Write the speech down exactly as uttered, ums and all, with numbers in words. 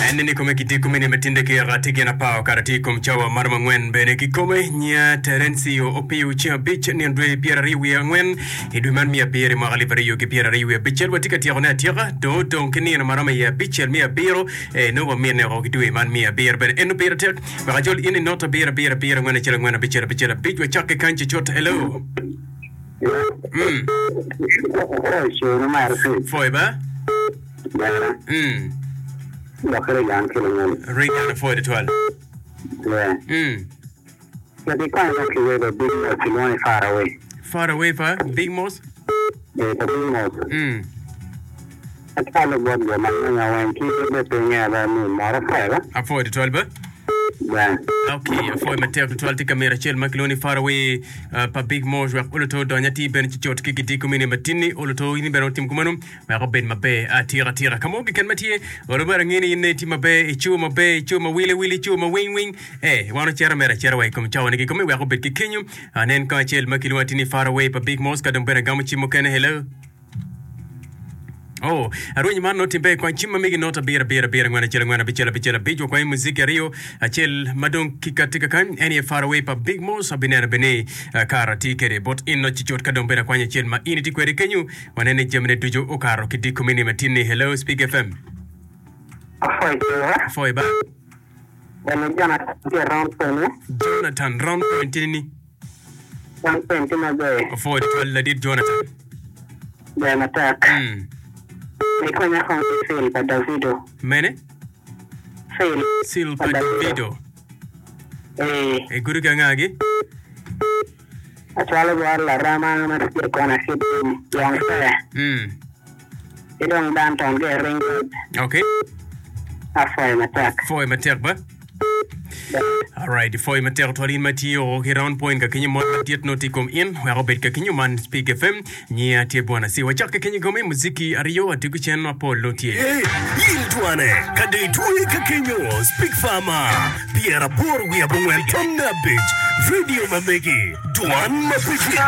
En ni kome gitye kome ni matinde ki ati gin apar okato tye i kom cawa maromo angwen bene kikome nya Terencio Opiyo ceng abic nino dwe pyera aryo wiye angwen i dwe man me abiro i mwaka alip aryo ki pyera aryo wiye abicel watye ka tyeko ne atyeka dong odong ki nino maromo iye abicel me abiro eh, nongo wamine oko ki dwe man me abiro bene eno pire tek wek ajol in i not abiro abiro abiro angwen acel angwen abicel abicel abic wacakke kany cucut hello mm. Foy ba mm. Regan apwoyo tutwal mm. Far away pa Big Moss mm. Apwoyo tutwal ba Ok, apwoyo matek tutwal tye ka mito acel ma kilwongo ni Far Away uh, pa Big Mosh wek oluto odony atir bene cucut ki gidiko mini matinni oluto in bene otim kumeno wek obed maber atika atika ka mo keken ma tye olo bene angeyo ni in ne itye maber ico maber ico ma wili wili ico ma wing wing eh wan ocito mere acita wa i kom cawa ni kikome wek obed ki kenyo anen kong acel ma kilwongo atir ni Far Away pa Big Mosh ka dong bene agamo cim mukene hello Oh, arwenyo man nongo timbe kwany cim ma megi not abiro abiro abiro angwen acel angwen abicel abicel abic wakwanyo muziki aryo acel ma dong kikati kakany en aye Far Away pa Big Moss abineno bene ni kara tye kede bot in no cucut ka dong bene akwanyo acel ma in itye kwede kenyo waneno ni jamine ducu okato ki diko mini matin ni Hello Speak F M Afoy ba Jonathan Round Point tye ni Afoy tutwal ladit Jonathan. Ber matek. Mm. Ikonya kong ki Seal pa Davido. Mene? Seal. Seal pa Davido. Ee. Igudo ki angagi? Acwalo bot larema ma tye i kona Sydney, Yong Fair. Mm. Ki dong Danton ki i Ring Road. Okay. Apwoyo matek. Pwoyo matek ba. Alright, pwoyo matek twal in ma tiyo ki Round Point ka kenyo mot madit nongo tye i kom in wek obed ka kenyo man Speak F M nyiya tye bwana si wacak ka kenyo gome muziki aryo adiko cen mapol nongo tye. Ee, in twane, ka dong itwoye ka kenyo, Speak Farmer, pyeraboro wiye abongwen tonne abic, radio ma megi, dwan ma pe gik.